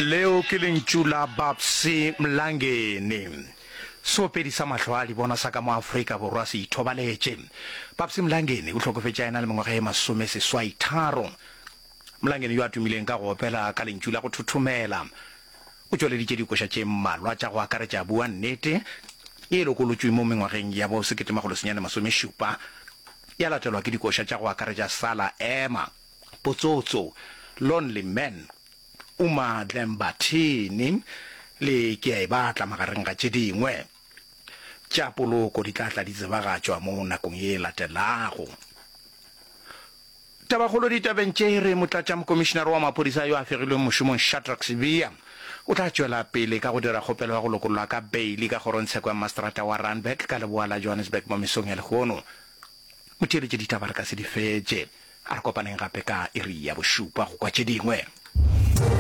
Leo ke lentšu la Babsy Mlangeni. Seopedi sa mahlo a dibona sa ka mo Afrika Borwa se ithobaletše. Babsy Mlangeni o hlokofetše a ena le mengwaga ye masomeseswaitharo. Mlangeni yo a tumileng ka go opela ka lentšu la go thothomela, o tšweleditše dikoša tše mmalwa tša go akaretša Bua Nnete, ye e lokolotšwe mo mengwageng ya bo 1970, ya latelwa ke dikoša tša go akaretša Sala Ema, Potsotso, Lonely Man, Uma Dlembathini le Ke a e Batla magareng ga tše dingwe. Tša poloko di tla tla di tsebagatšwa mo nakong ye e latelago. Tabakgolo ditabeng tše e re Motlatšamokomišinare wa maphodisa yo a fegilweng mošomong Shadrack Sibiya o tla tšwela pele ka go dira kgopelo ya go lokollwa ka beili ka kgorongtsheko ya Maseterata wa Randburg ka leboa la Johannesburg mo mesong ya lehono. Motheeletši ditaba re ka se di fetše. A re kopaneng gape ka iri ya bošupa go kwa tše dingwe.